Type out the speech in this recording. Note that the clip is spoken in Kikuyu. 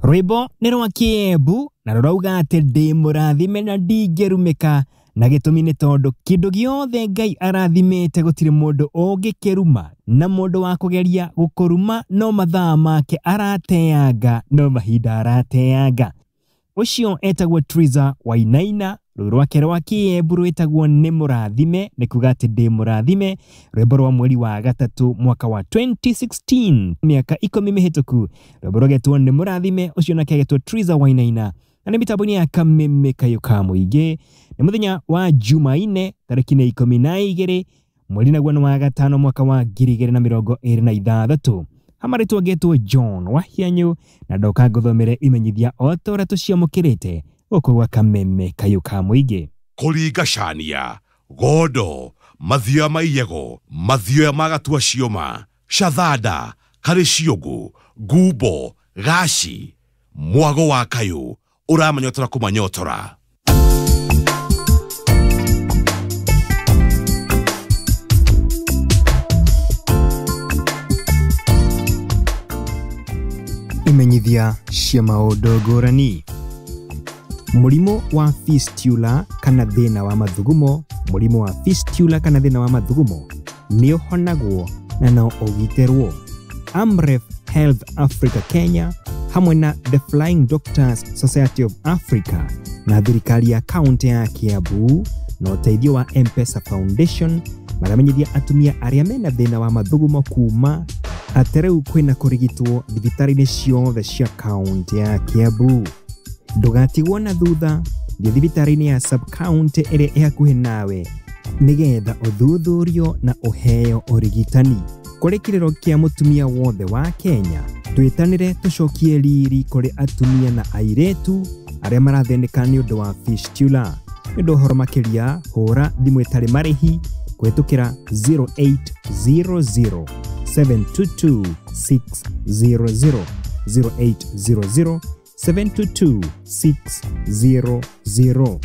Rwĩmbo nĩ rwa Kĩembu na rũrauga atĩ ndĩ mũrathime na ndingĩrumĩka, na gĩtũmi nĩ tondũ kĩndũ gĩothe Ngai arathimĩte gũtirĩ mũndũ ũngĩkĩruma, na mũndũ wa kũgeria gũkũruma no mathaa make arateanga, no mahinda arateanga. Ũcio etagwo Triza Wainaina, rũĩ rwake rwa Kĩembu rwĩtagwo nĩ mũrathime, nĩ kuga atĩ ndĩ mũrathime, rwĩmbo rwa mweri wa gatatũ mwaka wa 2016, mĩaka 10 mĩhĩtũku, rwĩmbo rũgetwo nĩ mũrathime, ũcio nake agetwo Triza Wainaina, na nĩ mĩtambo-inĩ ya Kameme Kayũ ka Mũingĩ. Nĩ mũthenya wa Jumaine tarĩki nĩ 12 mweri naguo nĩ wa gatano mwaka wa 2026. Hamarĩtwo ngetwo John Wahianyũ na ndoka ngũthomere imenyithia o ta ũrĩa tũciamũkĩrĩte gũkũ gwa Kameme Kayũ ka Mũingĩ. Kũringa cania, gondo, mathioya ma iyego, mathioya ma gatua cioma, shathanda, karĩ ciũngũ, ngumbo, gaci, mwago wa kayũ, ũramanyotora kũmanyotora. Imenyithia cia maũndũ ngũrani. Mũrimũ wa fistula kana thĩna wa mathugumo, mũrimũ wa fistula kana thĩna wa mathugumo nĩ ũhonagwo na no ũgitĩrwo. Amref Health Africa Kenya hamwe na The Flying Doctors Society of Africa na thirikari ya kaunti ya Kiambu na ũteithio wa M-Pesa Foundation maramenyithia atumia arĩa mena thĩna wa mathugumo kuma atĩ rĩu kwĩna kũrigitwo thibitarĩ-inĩ ciothe cia kaunti ya Kiambu. Ndũgatigwo na thutha, thiĩ thibitarĩ-inĩ ya sub-county ĩrĩa ĩ hakuhĩ nawe nĩgetha ũthuthurio na ũheo ũrigitani. Kũrĩ kĩrĩro kĩa mũtumia wothe wa Kenya, twĩtanĩre tũcokie riri kũrĩ atumia na airĩtu arĩa marathĩnĩka nĩ ũndũ wa fistula. Nĩ ũndũ ũhoro makĩria, hũra thimũ ĩtarĩ marĩhi kũhĩtũkĩra 0800 722 600, 0800 722 600.